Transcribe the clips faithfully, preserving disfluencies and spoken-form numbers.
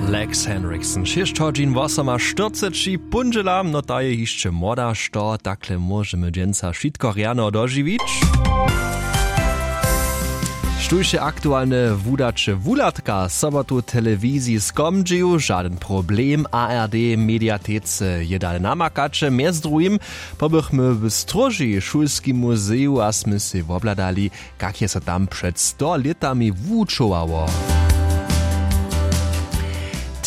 Lex Henriksen šěsć hodźin wosoma štyrceći póndźela, no ta je hišće młoda, što takle móžemy dźensa wšitko rjano dožiwić. Štóž je aktualne wudaće wuhladka sobotu w telewiziji skomdźił, žadyn problem. A R D mediatece je dale namakaće. Mjez druhim pobychmy w stróži w šulskim muzeju a smy sej wobhladali, kak je so tam před sto lětami wučowało.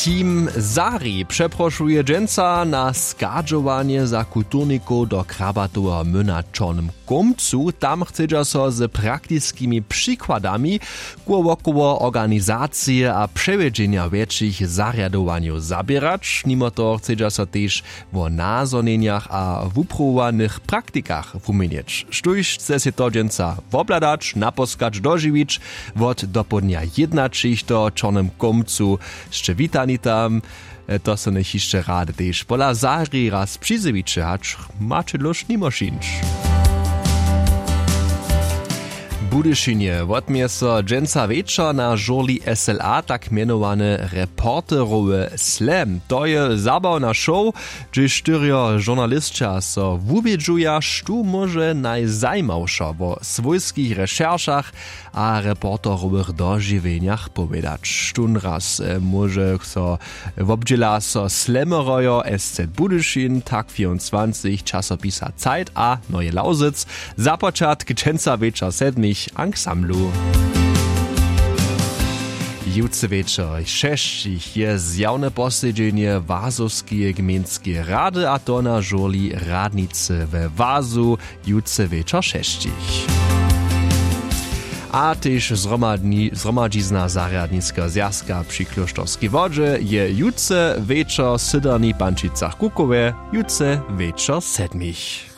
Team Zari přeprošuje dźensa na schadźowanje za kulturnikow do krabatoweho młyna w Čornym Kómcu. Tam chcedźa so z praktiskimi přikładami kółowokoło organizacije a přewjedźenja wjetšich zarjadowanjow zaběrać. Nimo toho chcedźa so tež wo nazhonjenjach a wuprowowanych praktikach wuměnjeć. Štóž chce sej to dźensa wobhladać, naposkać, dožiwić, wot dopołdnja jědnaćich w Čornym Kómcu sće witani tam. To so njech hišće rady tež pola Zari raz přizjewiće, hač maće dlóž nimo šińć. W Budyšinje wotměje so dźensa wječor na žurli S L A tak mjenowany Reporterowy Slam. To je zabawna show, hdźež štyrjo žurnalisća so wuwědźuja, štó móže najzajimawšo wo swójskich rešeršach a reporterowych dožiwjenjach powědać. Štón raz móže so wobdźěla so Slammerojo S Z Budyšin, tak vierundzwanzich, časopisa Zeit a Neue Lausitz. Započatk dźensa wječor sedmich w ansamblu. Jutře wječor šesćich je zjawne posedźenje Wazowskeje gmejnskeje rady, a to na žurli radnicy we Wazu. Jutře wječor šesćich. A tež zhromadni- zhromadźizna zarjadniskeho zwjazka při klóšterskej wodźe je jutře wječor w syderni pančicach kukowe, jutře wječor sedmich.